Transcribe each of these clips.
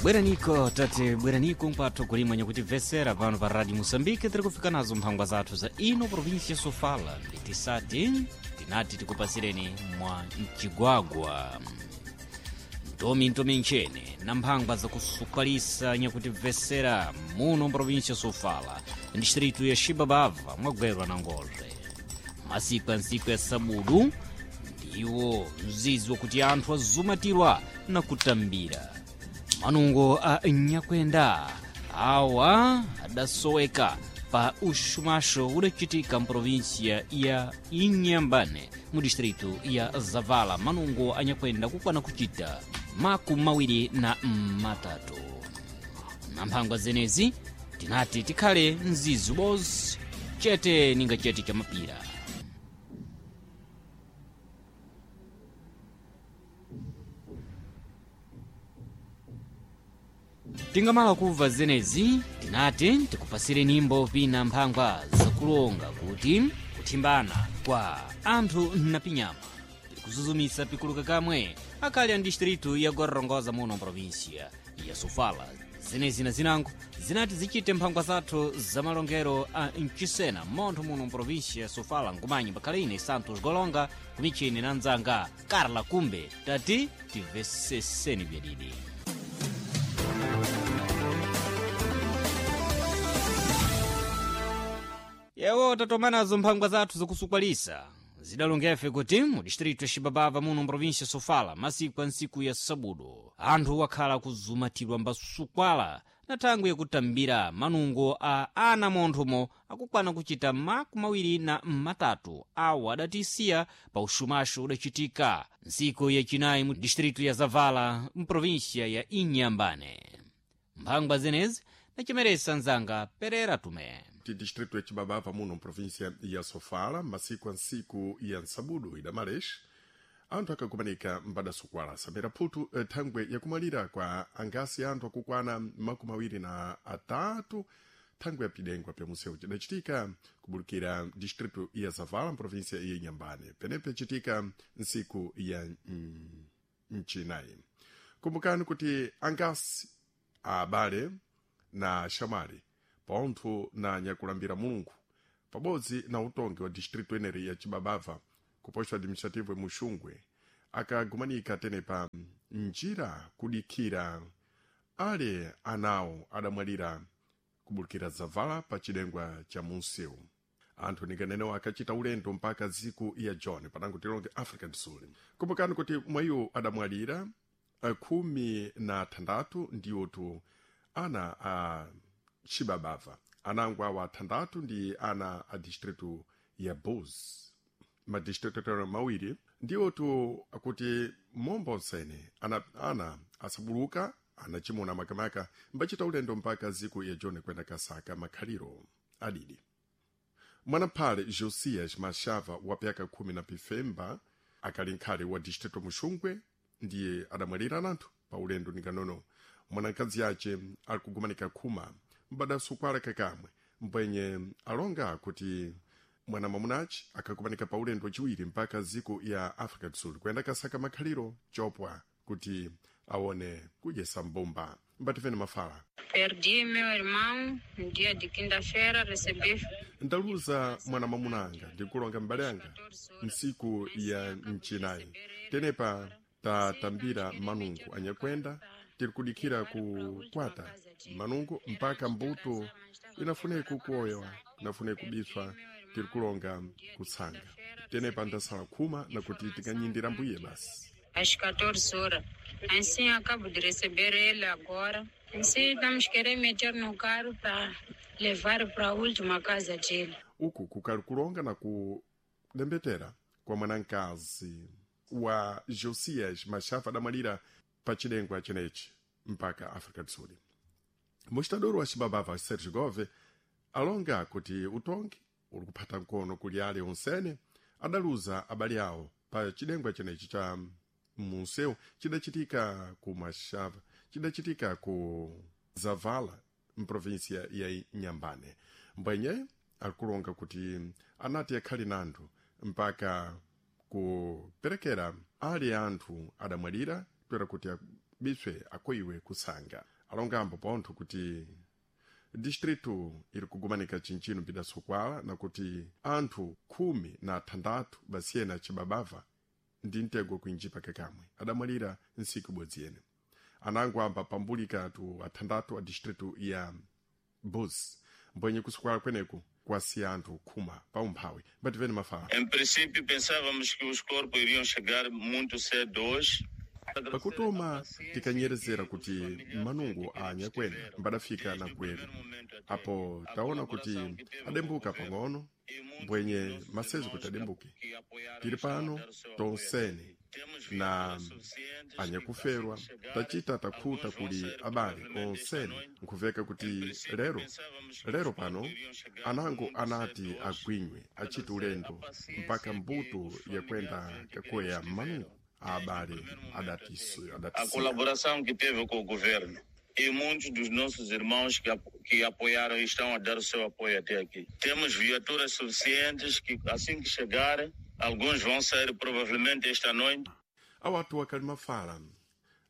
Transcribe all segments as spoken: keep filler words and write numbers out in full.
Bweraniko tate, bweraniko mpatho kulimwe nyakutimvesera pano pa Radio Moçambique. Tiri kufika nazo mphangwa zathu za ino província Sofala, nditisati tinati tikupasireni mwa mcigwagwa ntomi ntomi nchene na mphangwa zakusukalisa nyakutimvesera muno província Sofala, distrito ya Xibabava, mwagwerwa na Ngozve. Masiku ya ntsiku ya sabudu ndiwo mzizi wakuti anthu azumatirwa na kutambira manungo a nyakwenda awa adasoweka pa uxumaxo udacitika mprovinsia ya Inhambane, mu distrito ya Zavala. Manungo a nyakwenda kukwana kucita makumi mawiri na matatu. Na mphangwa zenezi tinati tikhale mzizi ubozi chete ninga chete cha mapira. Tingamala kubva zenezi tinati tikupasire nyimbo pina mphangwa zakulonga kuti kuthimbana kwa anthu na pinyama tikuzuzumisa pikuluka kamwe akali a distrito ya Gorongosa muno província ya Sofala. Zenezi na zinango zinati zichite mphangwa zathu za malongero a mcisena montho muno província ya Sofala. Nkumanyi pakhale ine Santos Golonga kumichini na mdzanga Carla Kumbe, tati timveseseni byadidi. Yewo tatomanazo mphangwa zathu zakusukwalisa zidalongefe kuti mu distrito ya Xibabava muno mprovinsia Sofala, masiku a ntsiku ya sabudu anthu wakhala kuzumatirwa mbasukwala na thangwi yakutambira manungo a ana monthomo akukwana kuchita makumi mawiri na matatu awo adatisiya pa uxumaxo udacitika ntsiku yacinayi mu distrito ya Zavala mprovinsia ya Inhambane. Mphangwa zenezi nacimeresa mzanga Perera Tume. Ti distrito ya Chibabava muno mprovíncia ya Sofala, masiku a ntsiku ya nsabudu idamalex anthu akakumanika mbadasukwala samira phutu eh, thangwe yakumalira kwa angasi anthu akukwana makumi awiri na atatu thangwe ya pidengwa pya museu cidacitika kubulukira distrito ya Zavala mprovíncia ya Inhambane, penepe citika ntsiku ya mm, mcinayi. Kumbukani kuti angasi abale na xamali pontho na nyakulambira Mulungu pabodzi na utongi wa distrito eneri ya Chibabava ku posto administrativo Muxungwe akagumanika tenepa njira kudikhira ale anawo adamwalira kubulukira Zavala pa cidengwa cha munsewu. Anthu ninganenewo akachita ulendo mpaka ziku ya John panango tilonge Africa do Sul. Kumbukani kuti mwayiwo adamwalira eh, khumi na thandatu ndiwotu ana a Chibabava, anango awa athandatu ndi ana a distrito ya Buz, madistrito tero mawiri ndiwotu akuti momba onsene ana, ana asabuluka anachimuna makamaka mbachita ulendo mpaka ziku ya John kwenda kasaka makhaliro adidi. Mwanaphale Josias Mashava wa pyaka khumi na pifemba akali nkhale wa distrito Muxungwe ndiye adamwalira ananthu pa ulendo ninganono. Mwanakazi ace ali kugumanika khuma mbadasukwala kakamwe mbwenye alonga kuti mwana mwamunaci akakumanika pa ulendo waciwiri mpaka ziko ya Africa do Sul kuyenda kasaka makhaliro chopwa kuti aone kudyesa mbumba. Mbatifeni mafala. Perdi meu irmão no dia de quinta-feira, recebi Ndaluza mwana mwamunanga ndikulonga mbale anga ntsiku ya mcinayi tenepa tatambira manungo anyakwenda tiri kudikhira kukwata manungo mpaka mbuto inafune kukoyewa inafune kubiswa tiri kulonga kutsanga tenepa ndasala khuma nakuti tikanyindira mbuye basi. Às catorze horas. Assim acabo de receber ele agora. Assim estamos querendo meter no carro para levar para a última casa dele. Uku kukali kulonga na kulembetera kwa mwanankazi wa Josias Mashava adamwalira pa cidengwa cenechi mpaka Africa do Sul. Mostador wa Xibabava Sergio Gove alonga kuti utongi uli kuphata mkono kuli ale onsene adaluza abale awo pa cidengwa cenechi cha munsewu cidacitika ku Mashava, cidacitika ku Zavala mprovinsia ya Inhambane. Mbwenye akulonga kuti anati akhali nanthu mpaka kuperekera ali anthu adamwalira toera kuti biswe akoiwe kusanga alongambo pontho kuti distritu iri kugumanika chinchino pidasukwala nakuti anthu khumi na athandathu basiyena cibabava ndi mtego kuinjipa kakamwe adamwalira nsiku ibodzi yene anango amba pambulika tu athandathu a distritu ya bus mbwenye kusukwala kweneku kwasiya anthu khuma pa umphawi mbativene mafala Em princípio, pensávamos que os corpos iriam chegar muito cedo hoje. Pakutoma tikanyerezera kuti manungo a anyakwena mbadafika na gweru apo taona kuti adembuka pang'ono mbwenye masezo kuti adembuke tiri pano tonsene na anyakuferwa tachita takhuta kuli abale onsene nkhuveka kuti lero lero pano anango anati agwinywe achite ulendo mpaka mbuto yakwenda kakoya manungo abale adatisu A adatisiya colaboração que teve com o governo e muitos dos nossos irmãos que, apo- que apoiaram e estão a dar o seu apoio até aqui. Temos viaturas suficientes que, assim que chegarem, alguns vão sair provavelmente esta noite. Awatu akali mafala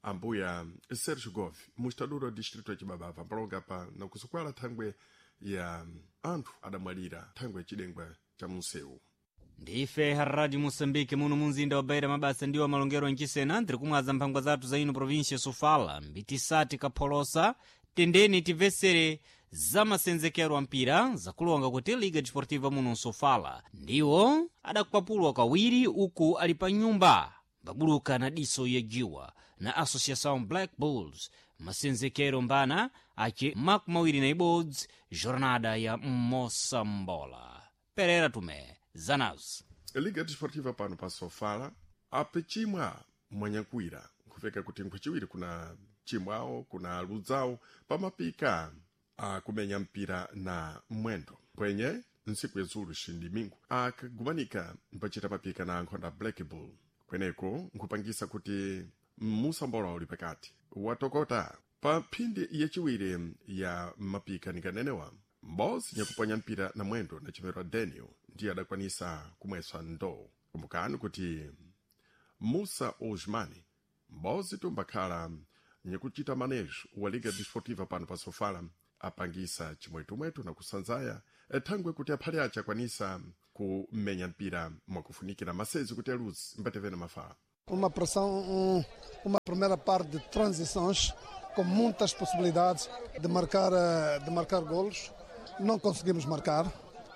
ambuya Sergio Gove mustaduro wa distrito ya Chibabava mpalonga pa nakusukwala thangwe ya anthu adamwalira thangwe ya chidengwa cha munsewu. Ndife Radio Moçambique muno munzinda wa Beira mabasa ndiwo malongero nchisena ndiri kumwaza mphangwa zathu za ino província Sofala mbitisati kapholosa tendeni timvesere za masenzekero a mpira zakulonga kuti Liga Desportiva muno Sofala ndiwo adakwapulwa kawiri uku ali pa nyumba mbabuluka na diso yajiwa na Associação Black Bulls masenzekero mbana aci makumi mawiri na ibodzi jornada ya Moçambola Pereira Tomé Zanaus. Liga Desportiva pano pa Sofala apechimwa mwanyakwira nkuveka kuti nkhwachiwiri kuna chimwawo kuna ludzawo pamapika akumenya mpira na mwendo pwenye ntsiku yazulu xindimingu akagumanika mpachita mapika na nkhonda Black Bull kweneko nkhupangisa kuti musambola uli pakati watokota pa mphindi yachiwiri ya mapika nikanenewa mbozi nyakuponya mpira na mwendo na chimero Daniel ndiye adakwanisa kumwesa ndoo kumbukani kuti Musa Osmani mbozi tumbakhala nyakuchita manejo wa Liga Desportiva pano pa Sofala apangisa chimwetumwetu na kusanzaya thangwe kuti aphale ace akwanisa kumenya mpira mwakufunikira masezi kuti aluzi mbatevene mafala. Uma pressão, um, uma primeira parte de transições com muitas possibilidades de marcar, eh, de marcar golos. Não conseguimos marcar.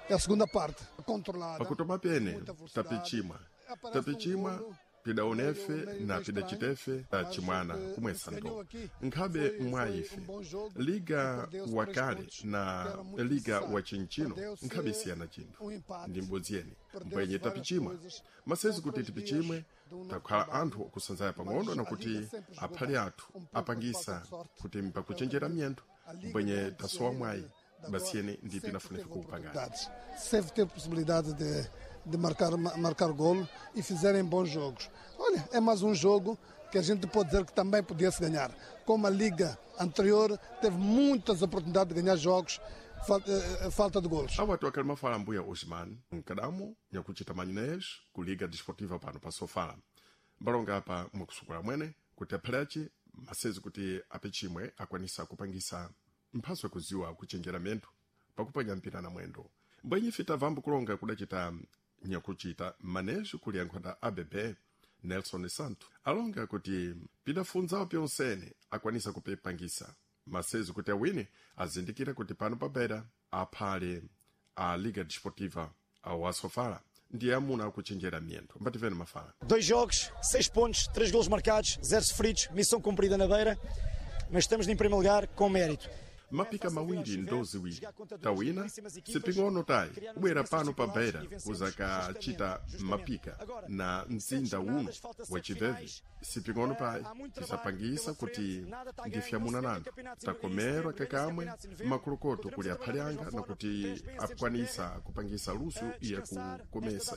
É a segunda parte, controlada. Pakutoma pene muita velocidade. tapichimwa Aparece um tapichimwa golo, pidaonefe meio- meio na estranho, pidacitefe mas tachimwana o que kumwesa se ganhou ndo aqui nkhabe foi- mwa foi ife um bom jogo liga e perdeu-se três wakale pontos, que na era muito liga necessário. wa chinchino Perdeu-se nkhabe siyana chinthu um empate. ndi mbodzi yene Perdeu-se mbwenye várias tapichimwa coisas. masezi São kuti três tipichimwe dias de um novo takhala trabalho. anthu okusanzaya pang'ono Mas na a kuti Liga sempre jogou aphale bem. athu Um pouco de apangisa falta de sorte. kuti mpakuchenjera miyendo A Liga mbwenye antes tasowa de- mwayi de agora basiyene ndi sempre pinafunika teve kuupangana. oportunidades. Sempre teve possibilidade de, de marcar, marcar golo e fizerem bons jogos. Olha, é mais um jogo que a gente pode dizer que também podia-se ganhar. Como a Liga anterior teve muitas oportunidades de ganhar jogos, falta, eh, falta de golos. Awatu akali mafala mbuya Osman mkadamo nyakuchita manyenejo ku Liga Desportiva pano pa Sofala mbalonga apa mwakusukula mwene kuti aphale masezi kuti apichimwe akwanisa kupangisa mphaso yakuziwa kuchenjera miyendo pakuponya mpira na mwendo mbwenye fita vambo kulonga kudacita nyakuchita manejo kuli ankhonda A B B Nelson Santo alonga kuti pidafunzawo pyonsene akwanisa kupipangisa masezi kuti awine azindikira kuti pano pabera aphale a Liga Desportiva ao Asofala ndiye amuna akuchenjera miyendo mbativene mafala. Dois jogos, seis pontos, três golos marcados, zero sofridos, missão cumprida na Beira, mas estamos em primeiro lugar com mérito. Mapika mawiri ndo ziwiri tawina siping'ono tayi kubwera pano pa Beira kuzakachita mapika na mzinda uno wachiveve siping'ono payi tisapangisa kuti ndifyamuna nanthu takomerwa kakamwe makolokoto kuli aphale anga nakuti akwanisa kupangisa luso yakukomesa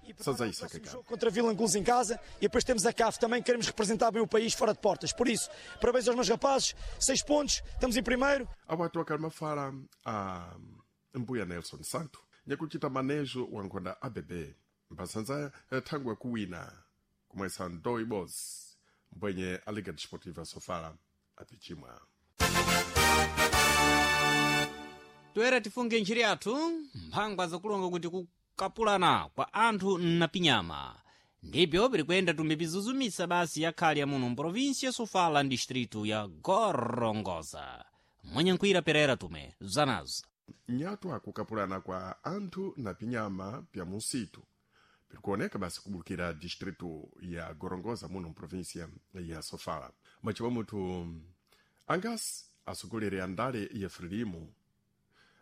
yakusanzayisa kakamwe. Contra Vilanculos em casa e depois temos a C A F também, queremos representar bem o país fora de portas. Por isso, parabéns aos meus rapazes, seis pontos, estamos em primeiro. Awatu akali mafala a mbuya Nelson Santo nyakuchita manejo wa nkhonda A B B mphasanzaya thangwe kuwina kumwesa ndo ibodzi mbwenye a Liga Desportiva Sofala apichimwa. Toera tifunge ntchito yathu mphangwa zakulonga kuti kukapulana kwa anthu napinyama ndibyo pirikuyenda tumipizuzumisa basi yakhale ya muno mprovinsi ya Sofala distritu ya Gorongosa. Mwenye nkwira Perera tume zanazo. Nyatwa kukapulana kwa anthu na pinyama pya musitu pirikuoneka basi kubulukira distritu ya Gorongosa muno mprovinsia ya Sofala. Machiwa muthu angasi atsogoleri a ndale ya Frelimo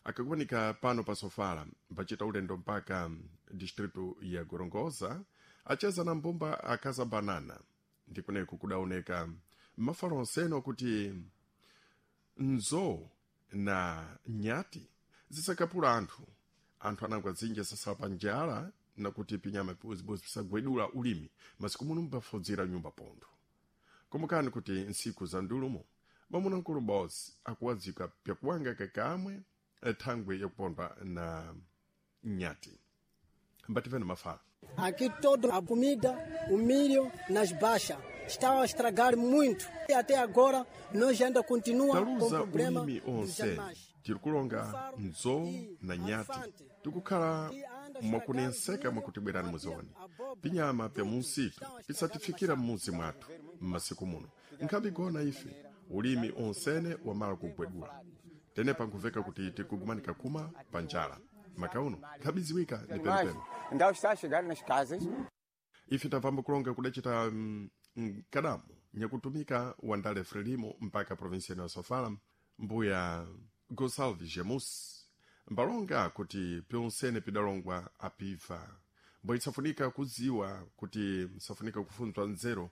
akakumanika pano pa Sofala mpachita ulendo mpaka distritu ya Gorongosa acheza na mbumba akaza banana ndikuneko kudaoneka mafalo onsene kuti nzo na nyati zisakapula anthu anthu anangwa dzinja sasala pa njala nakuti pinyama pibozibozi pisagwedula ulimi masiku muno mbafudzira nyumba pontho. Komokani kuti ntsiku za ndulumo mwamuna bosi akuwadzika pyakuwanga kakamwe thangwe yakupondwa na nyati. Mbativeni mafala. Aqui toda a comida, o milho nas baixas está a estragar muito. E até agora nós ainda continua com Taluza problema ulimi dos onse animais. tirikulonga nzo na nyati tikukhala mwakunenseka mwakutibwerani muzioni pinyama pya munsitu pisatifikira m'muzi mwathu m'masiku muno nkhambi gona ife ulimi onsene wamala kugwedula tenepa nkuveka kuti tikugumanika kuma pa njala makauno nkhabiziwika ni penipeni. Então está a chegar nas casas. Ife tapamba kulonga kudacita mm, mkadamu nyakutumika wandale Frelimo mpaka provinsia ya Sofala mbuya Gonçalves Gemus mbalonga kuti pyonsene pidalongwa apiva mbo isafunika kudziwa kuti msafunika kufunzwa nzeru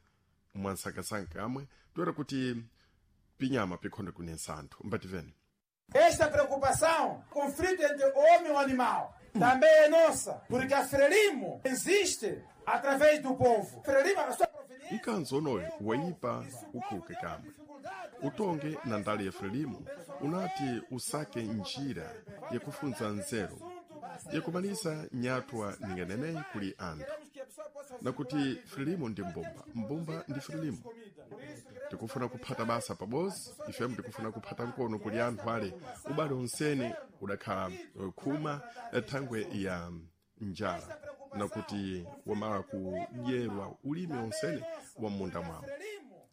mwansankasanka amwe toera kuti pinyama pikhonde kunensa anthu. Mbativeni. Esta preocupação, conflito entre o homem e o animal, também é nossa, porque a Frelimo existe através do povo. Frelimo, a sua proveniência. Mkanzo onoyo wayipa ukhuke kamwe utonge na ndale ya Frelimo unati usake njira yakufunza nzeru yakumalisa nyatwa ninganeneyi kuli anthu nakuti Frelimo ndi mbumba, mbumba ndi Frelimo. Tikufuna kuphata basa pabozi ifemu tikufuna kuphata nkono kuli anthu ale ubale onsene udakhala eh, khuma eh, thangwe ya njala nakuti wamala kudyerwa ulimi onsene wa m'munda mwawo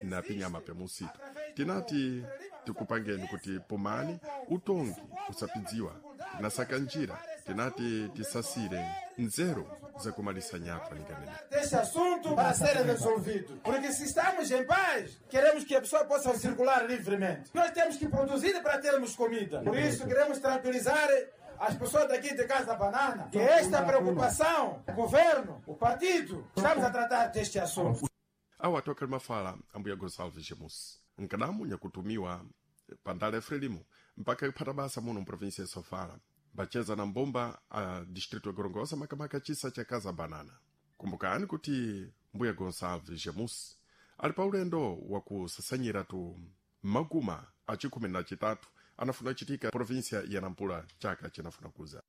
na pinyama pya musitu. Tinati tikupangeni kuti pomani utongi usapidziwa tinasaka njira tinati tisasire nzeru zakumalisa nyatwa ninganene. Deste assunto para ser resolvido. Porque se estamos em paz, queremos que a pessoa possa circular livremente. Nós temos que produzir para termos comida. Por isso, queremos tranquilizar as pessoas daqui de Casa Banana que esta preocupação, o governo, o partido, estamos a tratar deste assunto. Awo atoka limafala ambuya Gonçalves Gemus nkadamu nyakutumiwa pandale ya Frelimo mpaka kuphata basa muno mprovinsia ya Sofala mbacheza na mbumba a distrito ya Gorongosa makamaka chisa cha Casa Banana. Kumbukani kuti mbuya Gonçalves Gemus ali pa ulendo wakusasanyira tu maguma a chikhumi na chitatu anafuna kuchitika provinsia ya Nampula chaka chinafuna kuza.